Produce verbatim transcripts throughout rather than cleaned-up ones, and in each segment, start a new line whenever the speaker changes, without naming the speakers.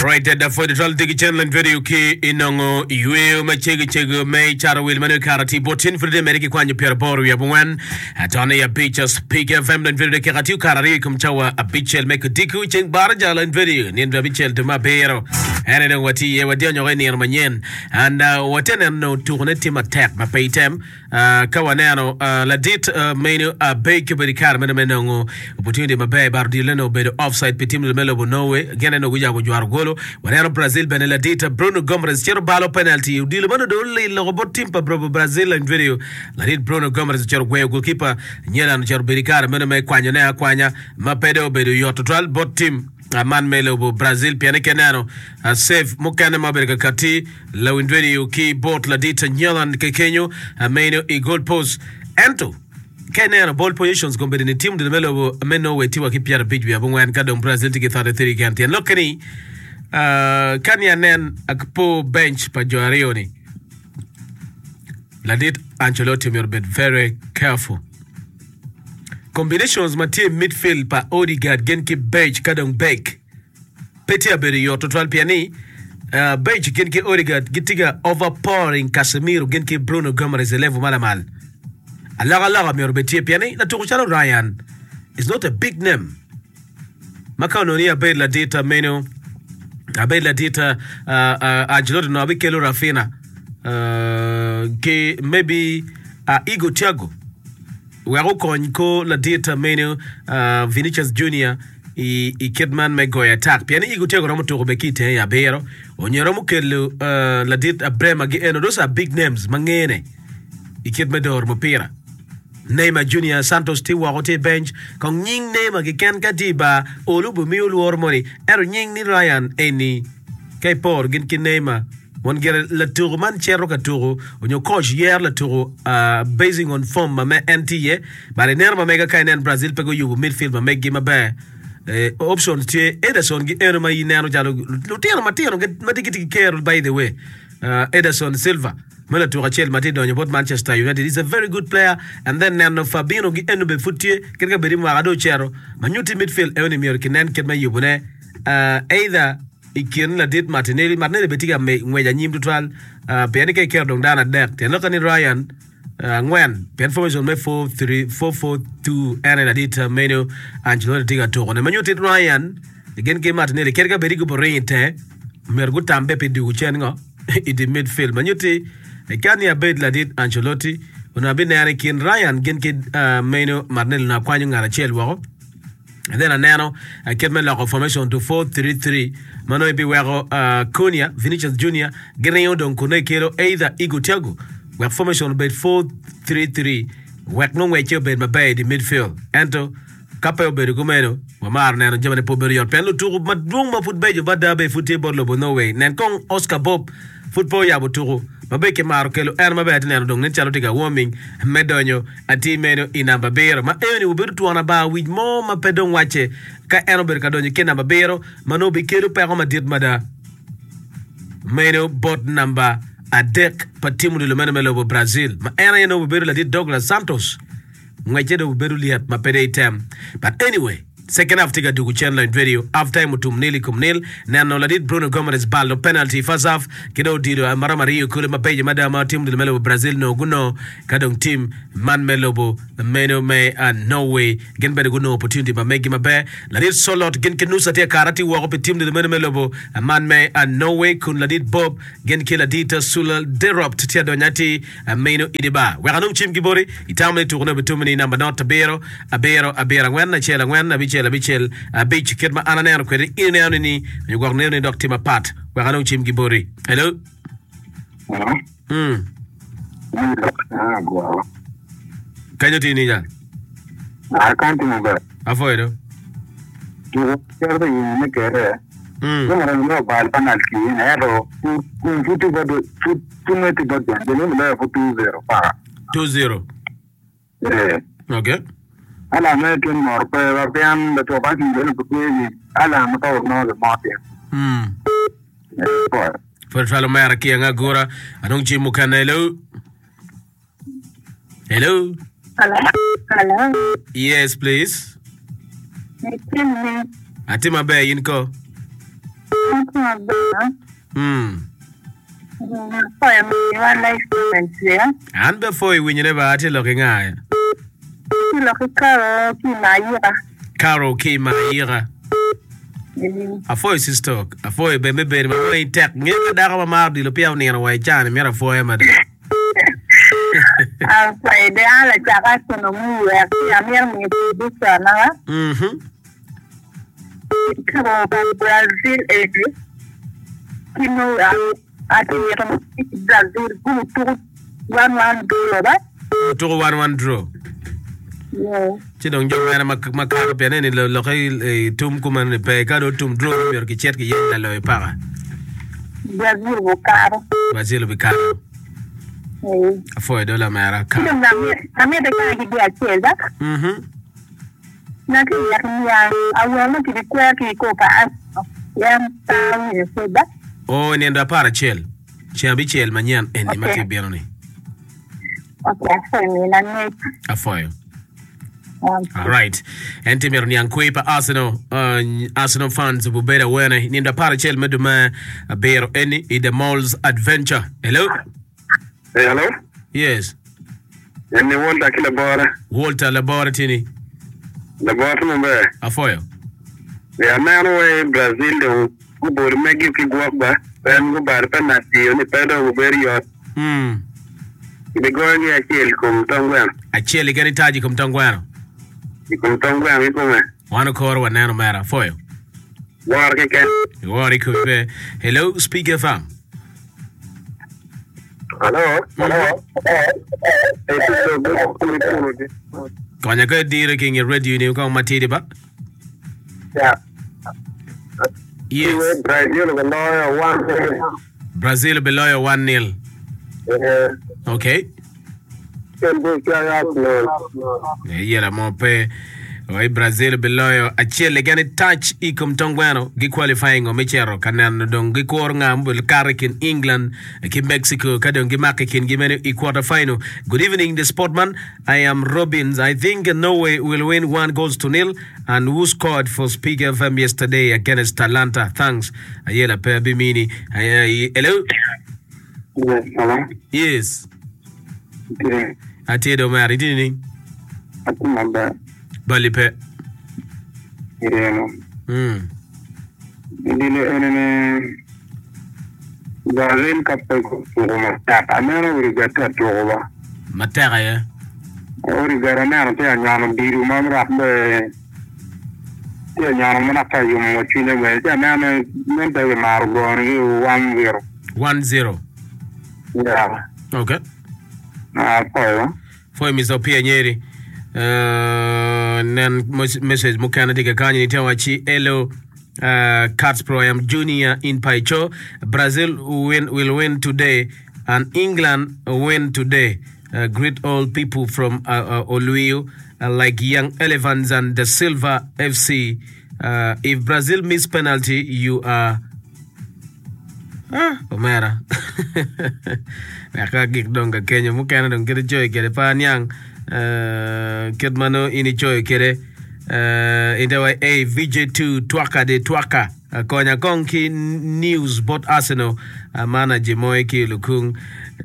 Right da pwod twal digi cen lany video ki inongo yweyo ma cego cego me cato wil mano kara ti botin pwod de mere ki kwanyo pyera boro wiye abongwen atone ya abic Speak F M lany video dakika tiyo kara aryo i kom cawa abicel me kodiku ceng baraja lany video nino abicel dwe me abiro ene dong watye iye wadionyo i nino manyen and uh, watye neno tukone tye matek ma pe item. Uh, ka waneno uh, ladit uh, meno Abek obedo i kare meno me nongo opportunity maber but odilo ne obedo offside pi tim me lobo Norway gin eno guyabo jwaro golo. Waneno Brazil bene, ladit Bruno Gomes cito balo penalty, odilo meno do olilo bot tim pa Brazil in video. Ladit Bruno Gomes ocito gweyo goalkeeper Nyelan, ocito bedo i kare meno me kwanyone akwanya ma pe do obedo yot tutwal bot tim man me lobo Brazil pien ke neno uh, save mukene ma obedo kakati lawin radio ki bot ladit Nyelan kekenyo uh, meno i goal post. Ento ka ineno ball positions kombeddi ni tim me lobo me Norway tye wa ki pyerabic wiye abongwen ka dong Brazil tye ki piero adek ki adek keken. Tyen lokke ni uh, ka ni anen akpo bench pa jo aryo ni, ladit Ancelotti myero obed very careful. Combinations ma tye midfield pa Odegaard gin ki Berge ka dong Beck pe tye abedo yot tutwal pien ni uh, Berge gin ki Odegaard gitye ka overpowering Casemiro gin ki Bruno Guimaraes i level ma lamal. Alokaloka myero obed tye pien ni latuko calo Ryan is not a big name ma ka onongo ni abed ladit meno abed ladit uh, uh, Ancelotti no abikelo Raphinha uh, ki maybe uh, Igo Thiago wek okony ko ladit meno uh, Vinicius Junior i, i kit man me goyo attack pien ni Igo Thiago romo tuko be ki i tenge i abiro onyo romo kelo uh, ladit Bremer gi eno. Those are big names ma ngene i kit me doro mupira. Neymar Junior Santos tye woko, tye bench kong nying Neymar keken ka tye i bar olu bimiyo lworo moni, ento nying ni Ryan eni ka iporo gin ki Neymar won gire latuko man cito ka tuko onyo coach yero latuko uh, basing on form ma me en tye iye. But ineno ma mega ka inen Brazil pe guyubo midfield ma meggi maber. eh, options tye Ederson gi eno ma ineno calo lutino matino ma tye gitye ki kero. By the way, uh, Ederson Silva ma latuko acel ma tye donyo bot Manchester United is a very good player and then neno Fabinho gi eno be pud tye kit ka bedi mwaka do ocero ma nyuti midfield eno ni myero kinen kit me yubone uh, either i kin ladit Martinelli. Martinelli be tye ka ngwec anyim tutwal uh, pien ni ka iketo dong dano adek tyen lokke ni Ryan angwen pien formation me four three four four two ene ladit meno Ancelotti tye ka tukone ma nyuti Ryan gin ki Martinelli kit ka bedi gubo ring i te myero gutambe pi dugu cen ngo i di midfield ma nyuti ka ni abed ladit Ancelotti onongo abineno i kin Ryan gin ki uh, meno Martinelli onongo akwanyo ngat acel woko and then aneno uh, kit me loko formation to four three three ma nongo ibiweko uh, Cunha Vinicius Junior giringo dong kun ikelo either Igo Thiago wek formation obed four three three wek nongo ngwecce obed maber i di midfield. Ento ka pe obedo kumeno wamaro neno jamine pe obedo yot pien lutuku madwong ma pud beco mada be pud tye bot lobo Norway. Nen kong Oscar Bob pud pe oyabo tuku ma be kimaro kelo en maber ati neno dong nen calo tye ka warming me donyo ati meno i namba abiro ma eni obedo twon abar wic mo ma pe dong wacce ka en obedo ka donyo ki namba abiro ma nongo bikelo peko madit mada meno bot namba adek pa tim odilo meno me lobo Brazil ma en aye nongo obedo ladit Douglas Santos ngwecce dong obedo lyet ma pe de item. But anyway, second half tye ka dugu cen lony radio half time otum nil i kom nil. Neno ladit Bruno Gomes balo penalty first half ki dong odilo maromo aryo kule mabeco mada ma tim odilo me lobo Brazil nongo gunongo ka dong tim man me lobo meno me uh, Norway gin bene gunongo opportunity ma megi maber. Ladit Solot gin ki Nusa tye kara tye woko pi tim odilo meno me lobo man me uh, Norway kun ladit Bob gin ki ladit Sula Deropt tye adonyo ati uh, meno idi bar wek anong cim ki boti itamo ni tukone obitum ni namba not abiro abiro abiro angwen acel angwen abicel abicel abic. Kit ma an aneno kwede in ineno ni ni nyo gwok neno ni dok tye mapat wek anong cim ki boti. Hello.
Hello?
mm.
Ah, gwaro.
Kanyo tye ninya?
Ah, kan timo ber.
Afoyo do.
Tuko kero yin me kere.
mm.
Yo mara no bal penalty yin ero. Kun futu bado fut ngeti bado. Jeni mo fu two zero pa.
two zero.
Eh.
Okay.
Ala me kin mor pe ba pian da to ba kin jeni pu ni. Ala ma to no de mo ti.
mm.
Eh, po.
Pwod twalo mera ki anga gura anong cim mukene. Hello, hello.
Hello. Hello.
Yes, please.
Itime.
Ati maber, in ko?
Atye maber.
Mm.
Apoyo miwa live comments ya.
An be apwoyo winyone ba atye lok ki nga?
Atye lok ki Carol ki Mayika.
Carol ki Mayika.
Mm.
Apwoyo sister. Apwoyo be me bedo ma wangi tek. Ngeyo ka dako ma maro odilo peya onino wa i caa-ni myero apwoye mada.
Apwoyo de an lacak Arsenal muywek ci amito miyo prediction na.
Mhm.
Tuko pa Brazil eni ki nongo atye mito ni Brazil gutuko one one draw ba.
Tuko one one draw.
Yeah.
Ci dong jo mene ma ma kato pien eni lo- lokke i tum kumeno ni pe ka dong otum draw ni myero kicit kiyeny laloyo paka.
Brazil gukato.
Brazil obikato.
Eh.
Apwoyo do lamera
Ci
ka.
dong amito amito kany ki dye acel ba.
Mhm.
Naki wek niang awene kibikwer ki i kor pa Arsenal pien pe awinyo pud ba.
Oo, i nino apar acel, ceng abicel manyen eni ma
Okay.
tye bino-ni.
Okay, apwoyo mina ngec.
Apwoyo. Alright. En tye myero niang kwer pa Arsenal. Uh, Arsenal fans obedo awene i nino apar acel me dwe me abiro eni i The Malls Adventure. Hello?
Hey, hello?
Yes.
En ni Walter ki labora.
Walter labora tye ni.
Labora tye maber.
Apwoyo.
E aneno wai Brazil dong gubodo megi ki gwok ba. En gubado penalty ni pe dong obedo yot.
Mm.
Gigoyogi acel i kom tong gweno.
Acel keken itaji i kom tong gweno.
I kom tong gweno kikome.
Wan okoro waneno mera. Apwoyo.
Woro keken.
Iworo i komi. Hello, Speak F M.
Hello? Hello? Hey, sister, good.
Konya ka idire ki nge radio ni kong matidi ba.
Yeah.
Yes.
Brazil biloyo one.
Brazil biloyo one nil.
Eh,
Okay.
en be kaya Arsenal.
Yela mo pe. Oi Brazil biloyo acel keken touch i kom tong gweno gi qualifying o me cito ka neno dong gikuro nga mo kato i kin England ki Mexico ka dong gimako i kingi meno i quarter final. Good evening, the sportman. I am Robbins. I think Norway will win one goals to nil and who scored for Speak F M yesterday against Atalanta? Thanks. Ayela pe abimini. Ay- Hello.
Yes, hello.
Yes.
Okay.
Atye do mer itini ni.
Atye maber.
Bali pe.
Ireno.
Mm.
Idilo enene Brazil ka pe gutuko matek. Aneno Uruguay tye atuko ba.
Matek aye.
Uruguay aneno tye anyono diru ma rak be tye anyono ma dok tye ayomo cwinye bene. Ci aneno nen pe gimaro gonogi one zero.
one zero.
Yeah.
Okay.
Ah, apwoyo.
Foi Mister Opia Nyeri. Uh, nen mos- message mukene tye kakany ni tye waci hello, uh, Cats Pro, I am Junior in Paicho. Brazil win, will win today and England win today. Uh, greet all people from uh, uh, Oluio uh, like Young Elephants and the Silver F C. Uh, if Brazil miss penalty, you are. Ah, omera. Wek gik dong ka kenyo mukene dong kit icoyo kwede pe aniang eh, kit ma nongo in icoyo kwede eh, ite wa a V J two twaka de twaka. Eh, konya kong ki news bot Arsenal. uh, mana jimoy ki lukung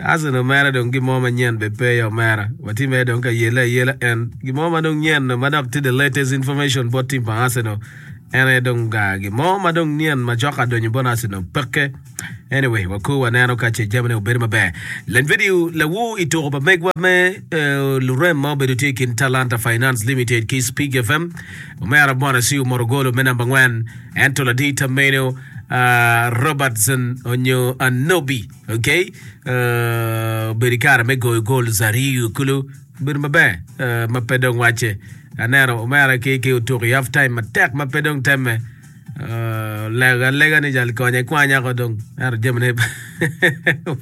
Arsenal mere dong gimo manyen be pe ya omera watye mere dong ka yele ayela en gimo ma dong nyen ma dok tye the latest information bot team pa Arsenal en aye dong ga gimo ma dong nyen ma cok adonyo bot Arsenal peke. Anyway, wakur waneno ka ce jamine obedo maber. Len video lawu i tuko pa megwa me eh, lurem ma obedo tye i kin Talanta Finance Limited ki Speak F M. Omera Bwana Siu Morogolo me namba ngwen ento ladita meno uh, Robertson onyo Anobi, okay, uh, obedo i kare me goyo goals aryo kulu obedo maber uh, ma pe dong wacce aneno omera ki ki otuko i half time matek ma pe dong temme. Uh, lega alega ni jal konye kwanya ko dong ento jamine pe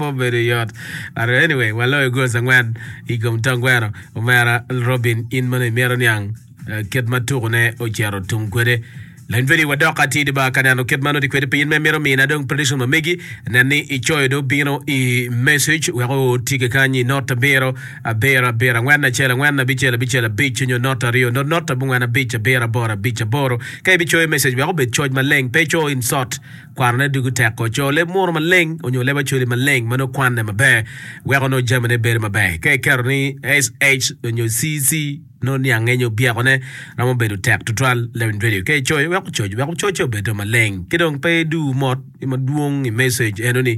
obedo yot. But anyway, waloyo goals angwen i kom tong gweno. Omera Robin in mano imito niang uh, kit ma tukone ocito tum kwede. Lany video wadok atidi ba ka neno kit ma nongo tye kwede piny me mito mina dong prediction ma megi nen ni icoyo dong obino i message wek oti kany i not abiro abiro abiro angwen acel angwen abicel abicel abic nyo not aryo not not abongwen abic abiro aboro abic aboro ka ibicoyo message wek obed coc maleng pe ico insult kwanone dugo teko co leb munu maleng onyo leb acholi maleng ma nongo kwane maber weko nongo jamine bedo maber ka iketo ni sh onyo cc nongo niange nyo byekone romo bedo tek tutwal lewin radio ka icoyo wek ococ wek ococce obedo maleng ki dong pe idu mot madwong i message enoni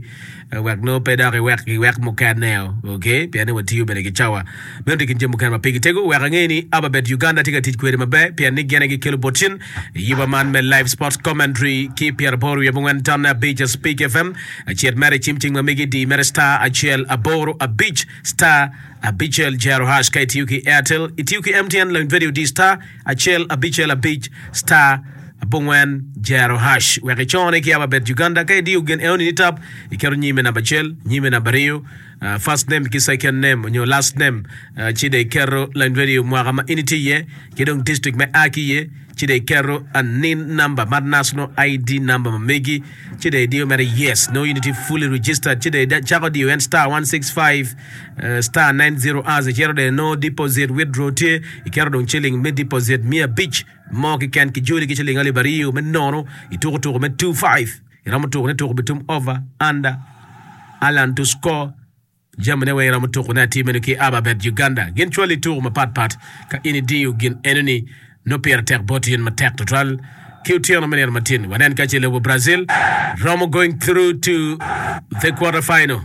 wek nongo pe dok iwek giwek mukene ok pien ni watiyo bene ki cawa meno tye kin jami mukene ma pigi tego wek ange ni Ababet Uganda tye ka tic kwede maber pien ni gin aye gikelo bot cen yiba man me live sports commentary ki pyeraboro wiye abongwen tonne abic Speak FM acit mere i cim cing ma megi di mere star acel aboro abic star abicel jero hash ka itiyo ki Airtel itiyo ki MTN lawiny video di star acel abicel abic star abongwen jero hash wek icone ki Ababet Uganda ka idiyo gin enoni ni tap iketo nyime namba acel nyime namba aryo uh, first name ki second name nyo last name uh, ci dong iketo lawiny radio mwaka ma in itye iye ki dong district me a ki iye ci dong iketo a NIN number mar national ID number ma megi ci dong idiyo mere yes no in itye fully registered ci dong cako diyo en star one six five uh, star nine zero as icito dong no deposit withdraw tye iketo dong ciling me deposit mia abic mo keken ki joli ki ciling alip aryo me nono ituko tuko me two five iromo tuko ne tuko bitum over under Alan to score jamine weng iromo tuko ne atir meno ki Ababet Uganda gin cwali tuko mapat pat ka in idiyo gin enoni no pire tek bot in matek tutwal ki otyeno me nino matin wanen ka ce lobo Brazil romo going through to the quarter final.